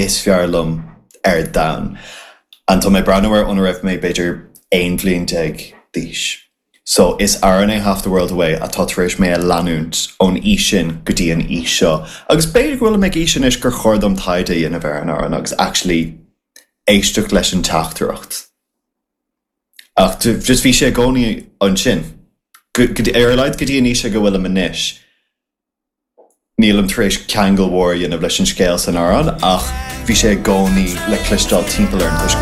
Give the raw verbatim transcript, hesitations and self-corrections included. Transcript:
is fearr liom ar domhan. And tá mé ag breathnú air óna raibh mé b'fhéidir aon bhliain déag d'aois. So is amhrán é Half the World Away atá tar éis mé a leanúint ón aois sin go dtí an aois seo. Agus b'fhéidir go bhfuilim ag aois anois gur chóir dom taighde a dhéanamh ar an amhrán agus actually éisteacht leis an teachtaireacht. Ach just bhí sé i gcónaí ansin. Ar a laghad go dtí an aois go bhfuilim anois. Nílim tar éis ceangal mhór a dhéanamh leis an scéal san amhrán ach bhí sé i gcónaí le cloisteáil timpeall orm toisc go